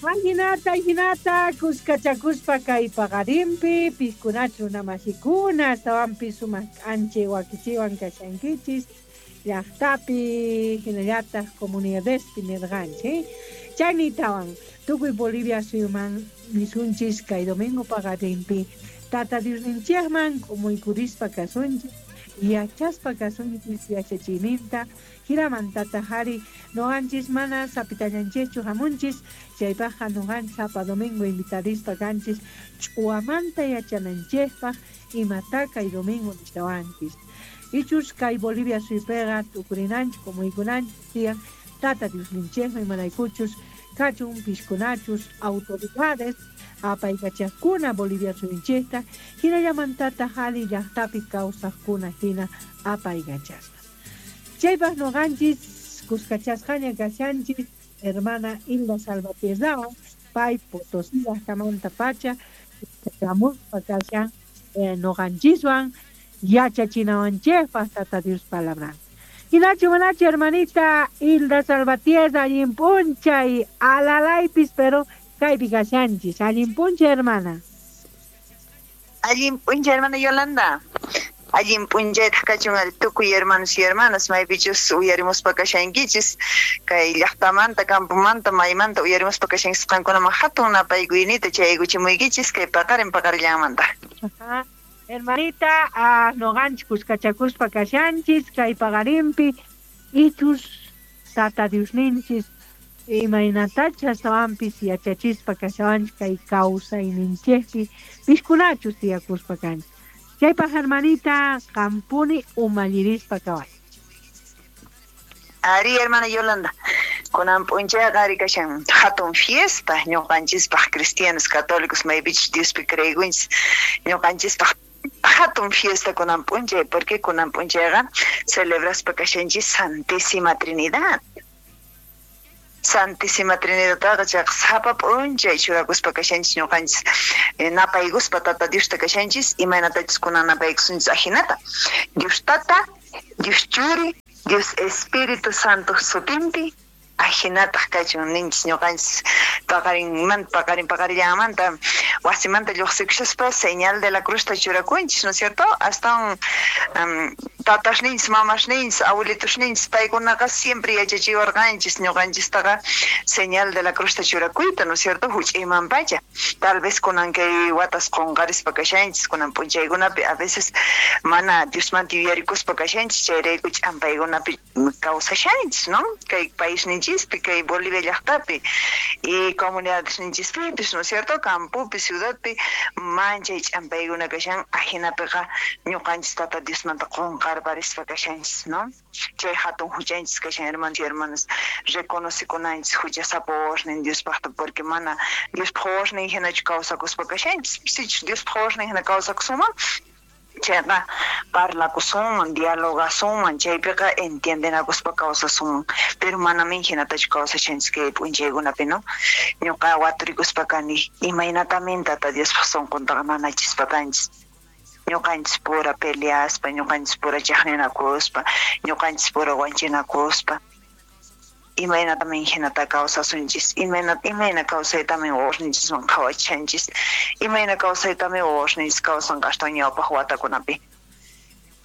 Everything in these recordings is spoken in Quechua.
Ajinata, ajinata, kuskachakuspa kay paqarinpi, piskunachu runamasikuna, astawanpis sumaq k'anchay wakichiwan kashankichis, llaqtapi, hinallataq comunidadespi nirqanchik. Chaynitawan, tukuy Bolivia suyuman nisunchis kay domingo paqarinpi, Tata Diosninchikman k'umuykurispa kasunchis, yachaspa kasunchis yachachiyninta, jinamantataq ari nuqanchis mana sapitallanchischu hamunchis, chaypaqqa nuqanchis sapa domingo invitarispa kanchis ch'uwamanta yachananchikpaq imata kay domingo nishawanchis. Ichus kay Bolivia suypiqa t'ukurinanchik k'umuykunanchik tiyan Tata Diosninchikman imaraykuchus kachun piskunachus autoridades apaykachaqkuna Bolivia suyunchikta hinallamantataq ali llaqtapi kawsaqkuna hina apaykachaspa. Chaypaq nuqanchis kuskachasqaña kashanchis hermana Hilda Salvatierrawan pay Potosí llaqtamanta pacha kuskachamuspa kashan nuqanchiswan yachachinawanchikpaq Tata Dios palabran. Hinachu manachu hermanita Hilda Salvatierra allin p'unchay alalaypis pero kaypi kashanchis allin p'unchay hermana. Allin p'unchay hermana Yolanda. Allin p'unchaytaq kachun ari tukuy hermanos y hermanas maypichus uyarimuspa kashankichis kay llaqtamanta campomanta maymanta uyarimuspa kashankichis qankunaman hatun napaykuynita chayaykuchimuykichis kay paqarin paqarillanmanta. Ajá. Hermanita, nuqanchis kuskachakuspa kashanchis kay paqarinpi ichus Tata Diosninchis imaynatacha astawanpis yachachispa kashawanchis kay kawsayninchikpi piskunachus tiyakuspa kanchis. Chaypaq hermanita qampuni umallirispa kaway. Ari hermana Yolanda, kunan p'unchayqa ari kashan hatun fiesta ñuqanchispaq cristianos católicos maypichus Diospi creekunchis ñuqanchispaq hatun fiesta kunan p'unchay porque kunan p'unchayqa celebraspa kashanchis Santísima Trinidad. Santísima Trinidadtaqa chayqa sapa p'unchay churakuspa kashanchis ñuqanchis napaykuspa Tata Diosta kashanchis imaynatachus kunan napaykusunchis ajinata Dios Tata, Dios Churi, Dios Espíritu Santo sutinpi ajinataq kachun ninchis ñuqanchis paqarinmanta paqarin paqarillanmanta wasimanta lluqsikushaspa señal de la cruzta churakunchis, ¿no es cierto? Astawan tatasninchis, mamasninchis, abuelitosninchis paykunaqa siempre yachachiwarqanchis ñuqanchistaqa señal de la cruzta churakuyta, ¿no es cierto? Huch'iyman pacha. Tal vez kunan kay watas qunqarispa kashanchis kunan p'unchaykunapi a veces mana Diosmanta yuyarikuspa kashanchis chayrayku ch'ampaykunapi kawsashanchis, ¿no? Kay paisninchispi, kay Bolivia llaqtapi y comunidadesninchispipis, ¿no es cierto? Campopi, ciudadpi manchay ch'ampaykuna kashan ajinapiqa ñuqanchis Tata Diosmanta qunqarparispa kashanchis, ¿no? Chay hatun huchanchis kashan hermanos y hermanas reconocikunanchis huchasapa wawasnin Diospaqta porque mana Diospaq wawasnin hinachu kawsakuspa kashanchis sichus Diospaq wawasnin hina kawsakusunman chayqa parlakusunman dialogasunman chaypiqa entiendenakuspa kawsasunman pero manamin hinatachu kawsashanchis kay p'unchaykunapi, no? Ñuqa waturikuspa kani imaynatamin Tata Diospaq sunquntaqa nanachispa kanchis ñuqanchis pura peleaspa ñuqanchis pura chaqninakuspa ñuqanchis pura wanchinakuspa imaynatamin hinata kawsasunchis imayna imayna kawsaytamin wawasninchisman qhawachishanchis imayna kawsaytamin wawasninchis kawsanqa astawan ñawpaq watakunapi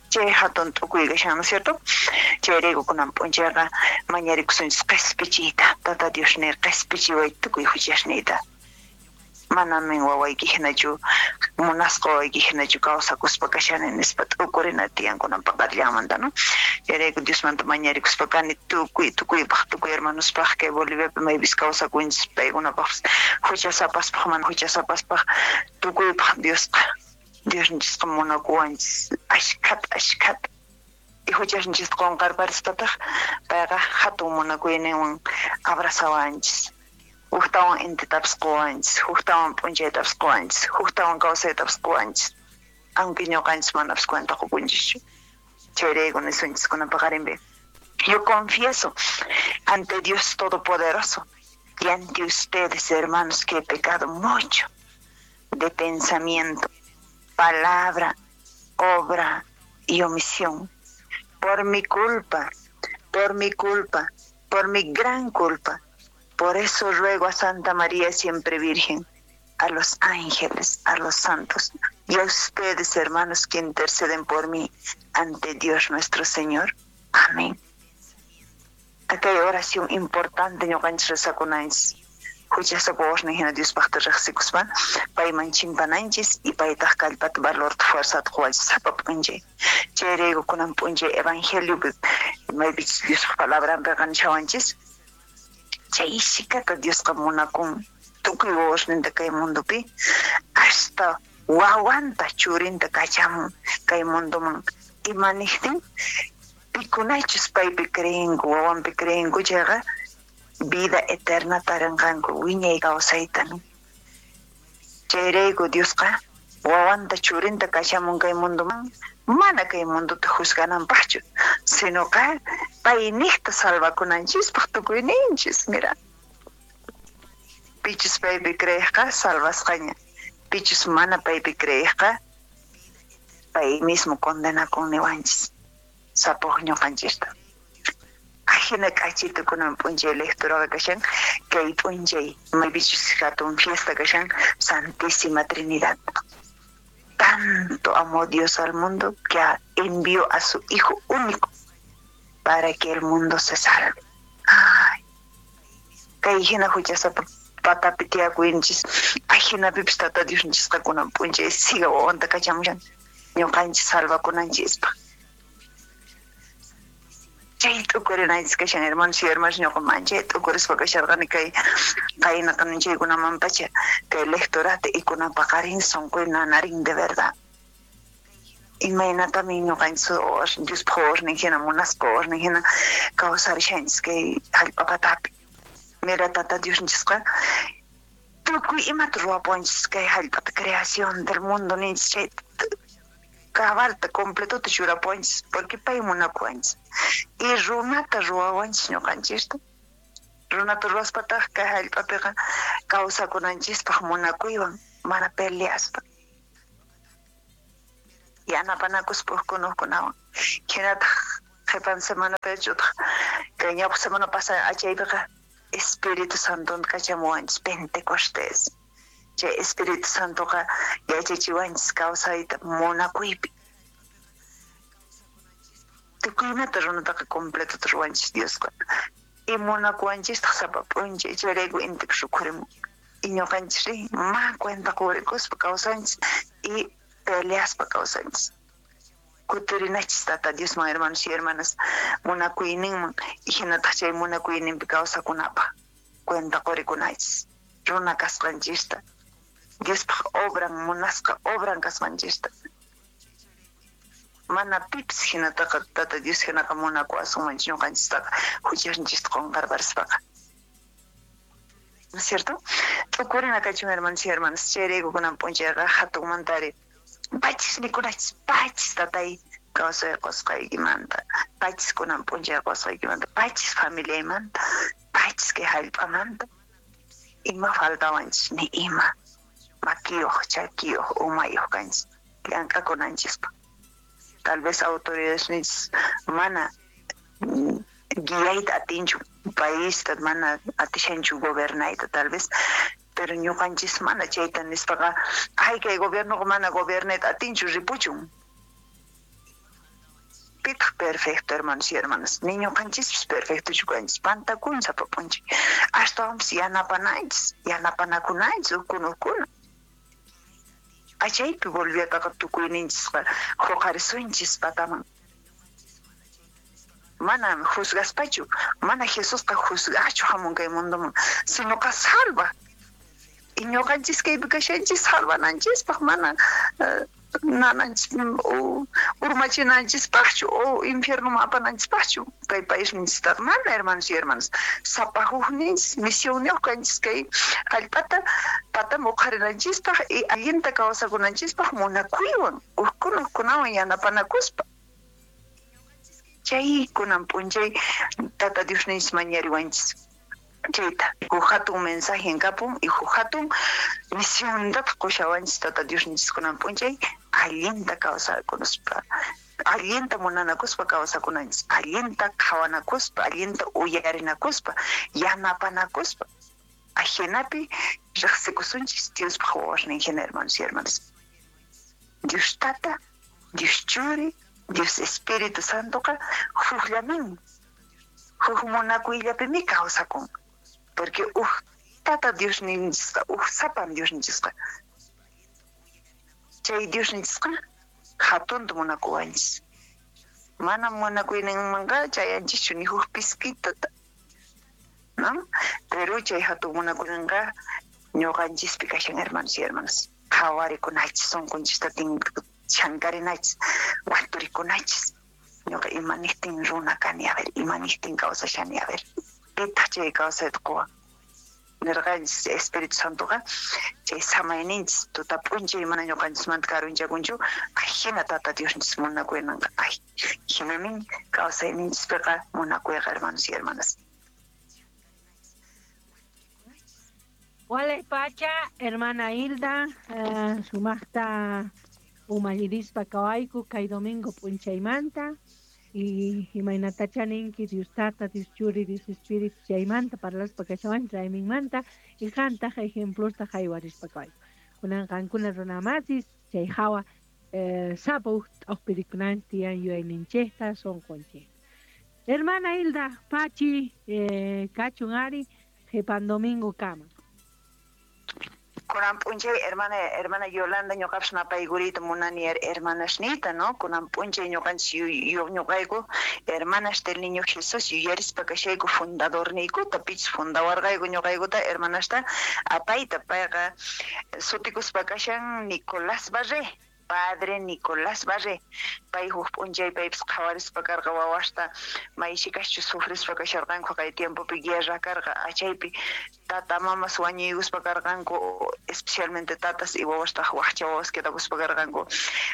chay hatun t'ukuy kashan, ¿no es cierto? Chayrayku kunan p'unchayqa mañarikusunchis qispichiyta Tata Dios ni qispichiway tukuy huchasniyta manamin wawayki hinachu munasqa wawayki hinachu kawsakuspa kashani nispa t'ukurina tiyan kunan paqarillanmanta, no? Chayrayku Diosmanta mañarikuspa kani tukuy tukuypaq tukuy hermanospaq kay Boliviapi maypis kawsakunchis paykunapaqpis huchasapaspaq mana huchasapaspaq tukuypaq Diosqa Diosninchisqa munakuwanchis ashkhata ashkhata y huchasninchista qunqarparispataq payqa hatun munakuyninwan abrazawanchis huktawan intitapis quwanchis huktawan p'unchaytapis quwanchis huktawan kawsaytapis quwanchis aunque ñuqanchis manapis cuenta qukunchischu chayrayku nisunchis kunan paqarinpi. Yo confieso ante Dios Todopoderoso y ante ustedes, hermanos, que he pecado mucho de pensamiento, palabra, obra y omisión. Por mi culpa, por mi culpa, por mi gran culpa. Por eso ruego a Santa María siempre Virgen, a los ángeles, a los santos y a ustedes, hermanos, que interceden por mí ante Dios nuestro Señor. Amén. Acá hay oración importante ñuqanchis rezakunanchis. Huchasapa wawasnin hina Diospaqta riqsikuspa payman chimpananchis y paytaq kallpata valorta fuerzata quwanchis sapa p'unchay. Chayrayku kunan p'unchay evangeliopi maypichus Diospaq palabranpiqa nishawanchis chay shikata Diosqa munakun tukuy wawasninta kay mundopi hasta wawanta churinta kachamun kay mundoman ima niqtin pikunachus paypi creenku wawanpi creenku chayqa vida eterna tarinqanku wiñay kawsayta. Chayrayku Diosqa wawanta churinta kachamun kay mundoman mana kay mundota juzgananpaqchu, sinoqa payniqta salvakunanchispaq tukuyninchis. Mira, pichus paypi creeqqa salvasqaña, pichus mana paypi creeqqa pay mismo condenakun niwanchis sapuq ñuqanchista. Ajina k'achito kunan p'unchay lecturaqa kashan kay p'unchay maypichus hatun fiesta kashan Santísima Trinidad. Tanto amó Dios al mundo que envió a su Hijo único para que el mundo se salve. Ay, kay hina huchasapa patapi tiyakuyninchis ajinapipis Tata Diosninchisqa kunan p'unchay siga wawanta kachamushan ñuqanchis salvakunanchispaq. Chay t'ukurinanchis kashan, hermanos y hermanas, ñuqa manchay t'ukurispa kasharqani kay qayna qanunchaykunamanpacha kay lectorata y kunan paqarin sunquy nanarin de verdad. Imaynatami ñuqanchis Diospaq wawasnin hina munasqa wawasnin hina kawsarishanchis kay hallp'a patapi. Mira, Tata Diosninchisqa tukuy imata ruwapuwanchis kay hallp'ata creación del mundo ninchis chay cabalta completota churapuwanchis porque pay munakuwanchis y runata ruwawanchis ñuqanchista. Runata ruwaspataq kay hallp'apiqa kawsakunanchispaq munakuywan mana peleaspa yanapanakuspa hukuna hukkunawan. Hinataq qhipan semanapichu utaq kay ñawpaq semana pasada achaypiqa Espíritu Santonta kachamuwanchis Pentecostés. Chay Espíritu Santoqa yachachiwanchis kawsayta munakuypi. Tukuymanta runataqa completota ruwanchis Diosqa. Y munakuwanchistaq sapa p'unchay chayrayku intiqa rikhurimun. Y ñuqanchisri ma cuenta qurikuspa kawsanchis y peleaspa kawsanchis. Kutirinachis Tata Diosman, hermanos y hermanas, munakuyninman y hinataq chay munakuyninpi kawsakunapaq cuenta qurikunachis runa kasqanchista, Diospaq obran munasqa obran kasqanchista. Mana pipis hinataqa Tata Dios hinaqa munakuwasunmanchu ñuqanchistaqa huchasninchista qunqarparispaqa. ¿No es cierto? T'ukurina kachun, hermanos y hermanas, chayrayku kunan p'unchayqa hatunmantari pachis mikunachis, pachis tatay kawsay qusqaykimanta, pachis kunan p'unchay qusqaykimanta, pachis familiaymanta, pachis kay hallp'amanta. Ima faltawanchis ni ima makiyuq, chakiyuq, umayuq kanchis llank'akunanchispaq. Tal vez autoridades ninchis mana guiayta atinchu paísta, mana atishanchu gobernayta tal vez, pero ñuqanchis mana chayta nispaqa ay kay gobiernoqa mana gobernayta atinchu ripuchun. Pitaq perfecto, hermanos y hermanas, ni ñuqanchispis perfectochu kanchis, pantakun sapa p'unchay. Ashtawanpis yanapananchis, yanapanakunanchis hukkuna hukkuna. Achaypi volviataqa tukuyninchisqa huqarisunchis pataman. Mana juzgaspachu, mana Jesusqa juzgachu hamun kay mundoman, sinoqa salva. Y ñuqanchis kaypi kashanchis salvananchispaq, mana nananchis o urmachinanchispaqchu o infiernoman apananchispaqchu kay paisninchistaqa mana, hermanos y hermanas. Sapa hukninchis misionniyuq kanchis kay hallp'ata pataman uqharinanchispaq y allinta kawsakunanchispaq munakuywan hukkuna hukkunawan yanapanakuspa. Chay kunan p'unchay Tata Diosninchis mañariwanchis chayta huk hatun mensaje kapun y huk hatun misiontataq qushawanchis Tata Diosninchis kunan p'unchay allinta kawsakunuspa Allinta munanakuspa kawsakunanchis, allinta qhawanakuspa, allinta uyarinakuspa, yanapanakuspa. Ajinapi riqsikusunchis Diospaq wawasnin hina, hermanos y hermanas. Dios Tata, Dios Churi, Dios Espíritu Santoqa hukllamin, huk munakuyllapimi kawsakun. Porque huk Tata Diosninchisqa, huk sapan Diosninchisqa. Chay Diosninchisqa hatunta munakuwanchis. Mana munakuyninmanqa chayanchischu ni huk piskitata, ¿no? Pero chay hatun munakuyninqa ñuqanchispi kashan, hermanos y hermanas. Qhawarikunachis, sunqunchista chankarinachis, waturikunachis. Ñuqa imanijtin runa kani, a ver, imanijtin kawsashani, a ver, pitaq chay kawsayta quwan. Nirqanchis Espíritu Santoqa chay samayninchis tuta p'unchay mana ñuqanchismanta karunchakunchu, ajina Tata Diosninchis munakuyninqa. Ay, hinamin kawsayninchispiqa munakuyqa, hermanos y hermanas. Walay pacha, hermana Hilda, sumaqta umallirispa kawayku kay domingo p'unchaymanta y imaynatacha ninki Dios Tata, Dios Churi, Dios Espíritu chaymanta parlaspa kashawanchis rayminmanta y qantaq ejemplosta haywarispa kawayku. Kunan qankuna runamasis chay hawa sapa uj t'uqpirikunanchis tiyan yuyayninchikta sunqunchikta. Hermana Hilda, pachi, kachun ari qhipan domingo kama. Kunan p'unchay hermana Yolanda ñuqapas napaykuriyta munani hermanasniyta, ¿no? Kunan p'unchay ñuqanchis ñuqayku hermanas del Niño Jesús yuyarispa kashayku fundadorniykuta, pichus fundawarqayku ñuqaykuta hermanasta apayta. Payqa sutikuspa kashan Nicolás Barré, padre Nicolás Barré. Pay huk p'unchay paypis qhawarispa karqa wawasta maysikaschu sufrispa kasharqanku kay tiempopi guerra karqa achaypi tata mamas wañuykuspa karqanku, especialmente tatas y wawastaq waqcha wawas quedakuspa karqanku.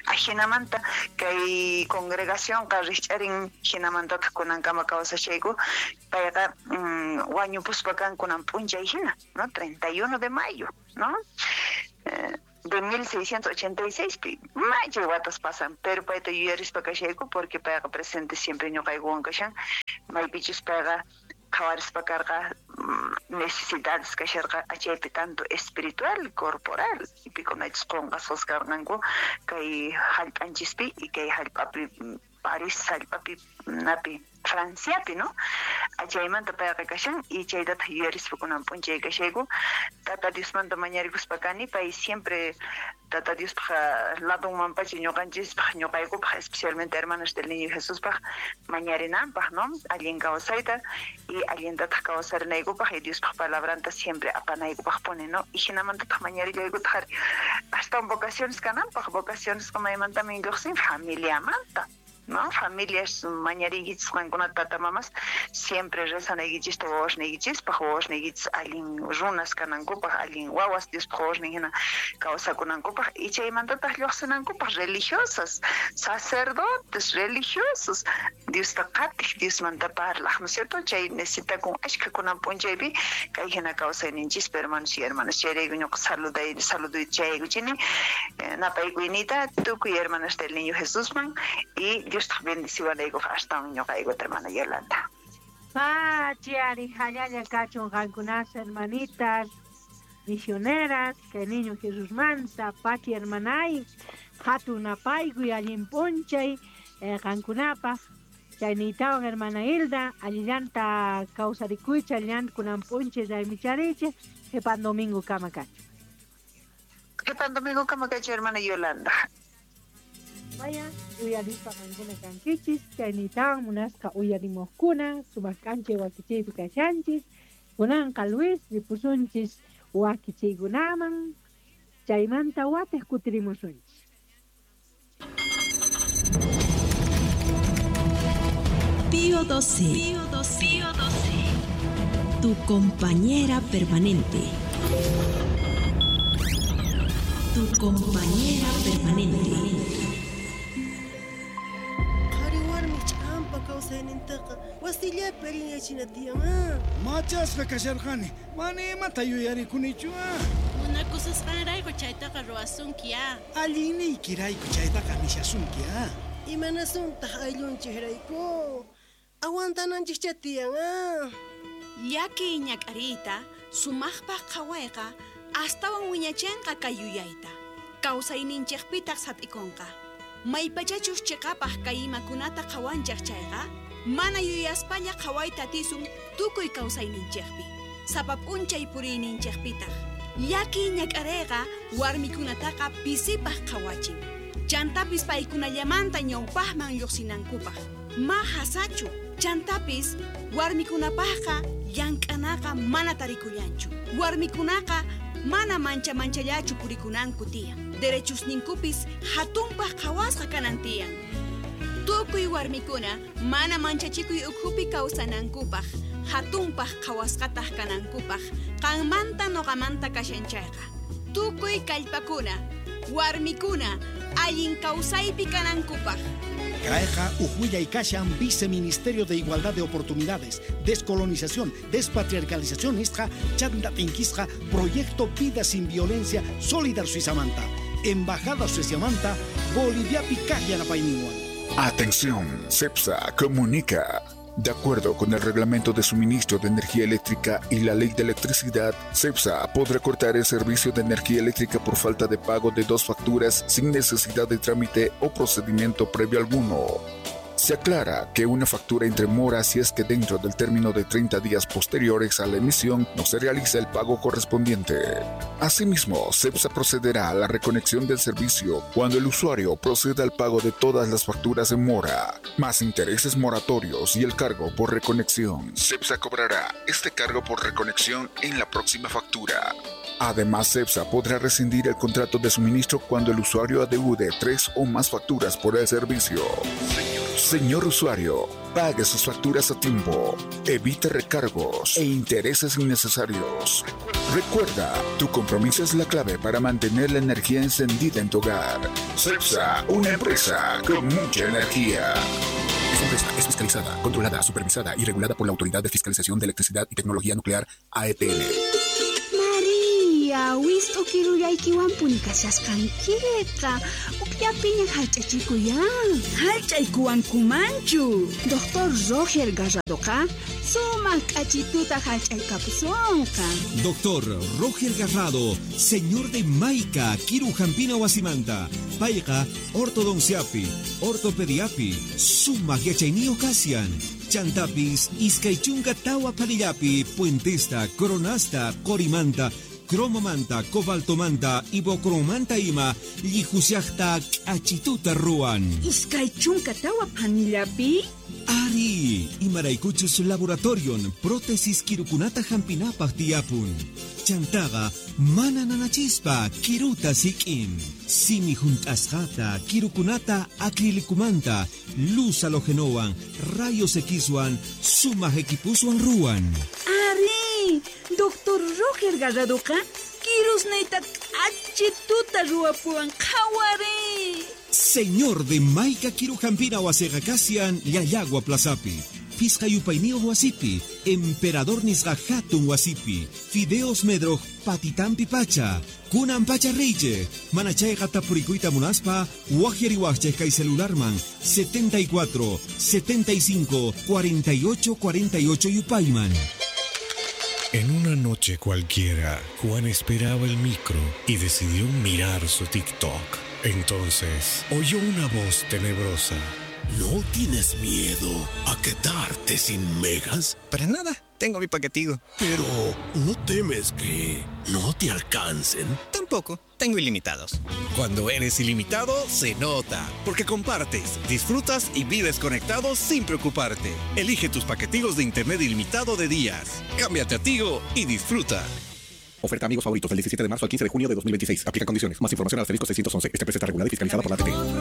Ajinamanta kay congregacionqa rikch'arin, hinamantataq kunankama kawsashayku. Payqa wañupuspa kan kunan p'unchay hina, ¿no? 31 de mayo, ¿no? De 1686 pi machay watas pasan, pero payta yuyarispa kashayku porque payqa presente siempre ñuqaykuwan kashan. Maypichus payqa qhawarispa karqa necesidades kasharqa achaypi tanto espiritual, corporal, y pikunachus qunqasqas karqanku kay hallp'anchispi y kay hallp'api París hallp'api napi Franciapi, ¿no? Achaymanta payqa kashan y chaytataq yuyarispa kunan p'unchay kashayku. Tata Diosmanta mañarikuspa kani, pay siempre Tata Diospaq ladunmanpacha ñuqanchispaq, ñuqaykupaq, especialmente hermanos del Niño Jesuspaq mañarinanpaq, ¿no? Allin kawsayta y allintataq kawsarinaykupaq y Diospaq palabranta siempre apanaykupaq pone, ¿no? Y hinamantataq mañarillaykutaq hasta vocaciones kananpaq, vocaciones maymantamin lluqsin familiamanta, ¿no? Familias mañariykichis qankunata tata mamas siempre rezanaykichista wawasniykichispaq, wawasniykichis allin runas kanankupaq, allin wawas Diospaq wawasnin hina kawsakunankupaq y chaymantataq lluqsinankupaq religiosas, sacerdotes religiosos, Diosta qatiq, Diosmanta parlaq, ¿no es cierto? Chay necesitakun ashkha kunan p'unchaypi kay hina kawsayninchispi, hermanos y hermanas. Chayrayku ñuqa saluduyta chayaykuchini, napaykuyniyta tukuy hermanas del Niño Jesusman y Dios te bendeciwanaykupaq astawan ñuqaykuta, hermana Yolanda. Pachi ari hallalla kachun qankunas hermanitas misioneras kay Niño Jesusmanta. Pachi hermanay, hatun napaykuy allin p'unchay qankunapaq. Chaynitawan hermana Hilda, allillanta kawsarikuycha, allillanta kunan p'unchay raymicharichik, qhipan domingo kama kachu. Qhipan domingo kama kachu, hermana Yolanda. Vaya, uyarispa qankuna kankichis, chaynitawan munasqa uyarimuqkuna, sumaq k'anchay wakichiypi kashanchis. Kunanqa Luis ripusunchis wakichiykunaman, chaymanta watiq kutirimusunchis. Pío XII. Pío XII. Pío XII. Tu compañera permanente. Tu compañera permanente. Qhari warmi ch'ampa kawsaynintaqa wasillapi allinyachina tiyan. Machasqa kasharqani, mana imata yuyarikunichu. Munakususqanrayku chaytaqa ruwasunki. Allinniykirayku chaytaqa nishasunki. Imanasuntaq ayllunchikrayku. Aguantananchikcha tiyan, ah. Llakiy ñak'ariyta sumaqpaq qhawayqa astawan wiñachinqa kay yuyayta. Kawsayninchikpitaq sat'ikunqa. Maypachachus chiqapaq kay imakunata qhawanchik chayqa, mana yuyaspalla qhawayta atisun tukuy kawsayninchikpi. Sapa p'unchay puriyninchikpitaq. Llakiy ñak'ariyqa warmikunataqa pisipaq qhawachin. Chantapis paykunallamanta ñawpaqman lluqsinankupaq. Ma hasachu. Chantapis warmikunapaqqa llank'anaqa mana tarikullanchu. Warmikunaqa mana mancha manchallachu purikunanku tiyan. Derechusninkupis hatunpaq qhawasqa kanan tiyan. Tukuy warmikuna mana manchachikuy ukhupi kawsanankupaq, hatunpaq qhawasqataq kanankupaq, qanmanta nuqamanta kashan chayqa. Tukuy kallpakuna, warmikuna allin kawsaypi kanankupaq. Kayqa uj kashan Viceministerio de Igualdad de Oportunidades, Descolonización, Despatriarcalización nisqa chanta tinkisqa Proyecto Vida Sin Violencia Solidar Suizamanta, Embajada Suiziamanta, Boliviapi kaq yanapayninwan. Atención, CEPSA comunica. De acuerdo con el reglamento de suministro de energía eléctrica y la ley de electricidad, CEPSA podrá cortar el servicio de energía eléctrica por falta de pago de 2 facturas sin necesidad de trámite o procedimiento previo alguno. Se aclara que una factura entre mora si es que dentro del término de 30 días posteriores a la emisión no se realiza el pago correspondiente. Asimismo, CEPSA procederá a la reconexión del servicio cuando el usuario proceda al pago de todas las facturas en mora, más intereses moratorios y el cargo por reconexión. CEPSA cobrará este cargo por reconexión en la próxima factura. Además, CEPSA podrá rescindir el contrato de suministro cuando el usuario adeude 3 o más facturas por el servicio. Señor usuario, pague sus facturas a tiempo, evite recargos e intereses innecesarios. Recuerda, tu compromiso es la clave para mantener la energía encendida en tu hogar. CEPSA, una empresa con mucha energía. Esta empresa es fiscalizada, controlada, supervisada y regulada por la Autoridad de Fiscalización de Electricidad y Tecnología Nuclear, AETN. Maria, wist'u kirullaykiwanpuni kashasqankiqa. Ukllapiña hallch'achikuyan. Hallch'aykuwankumanchu. Doctor Roger Garradoqa sumaq k'achituta hallch'aykapusunqa. Doctor Roger Garrado, señor de Maica, kiru hampina wasimanta. Payqa ortodonciapi, ortopediapi, sumaq yachayniyuq kashan. Chantapis, iskay chunka tawa phanillapi, puentesta, coronasta, qorimanta, cromomanta, cobaltomanta, ibocromanta ima, llihushaqta k'achituta ruwan. Iskay chunka tawa phanillapi? Ari, imaraykuchus laboratorion, prótesis kirukunata hampinapaq tiyapun. Chantaqa mana nanachispa kiruta sik'in. Simi hunt'asqata, kirukunata acrilicumanta, luz halogenowan, rayos Xwan, sumaq equipuswan ruwan. Ari, Doctor Roger Garradoqa kirusniyta k'achituta ruwapuwan qhawari. Señor de Maica kiru hampina wasiqa kashan Llallagua Plazapi. Fisqa yupayniyuq wasipi, Emperador nisqa hatun wasipi, Fideos Medroj patitampi pacha, kunan pacha riychej, mana chayqa tapurikuyta munaspa, waqyariwaqchej kay celularman 74 75 48 48 yupayman. En una noche cualquiera, Juan esperaba el micro y decidió mirar su TikTok. Entonces, oyó una voz tenebrosa. ¿No tienes miedo a quedarte sin megas? Para nada, tengo mi paquetigo. Pero, ¿no temes que no te alcancen? Tampoco, tengo ilimitados. Cuando eres ilimitado, se nota. Porque compartes, disfrutas y vives conectado sin preocuparte. Elige tus paquetigos de internet ilimitado de días. Cámbiate a Tigo y disfruta. Oferta amigos favoritos del 17 de marzo al 15 de junio de 2026. Aplica condiciones. Más información al asterisco 611. Esta empresa está regulada y fiscalizada por la ATT.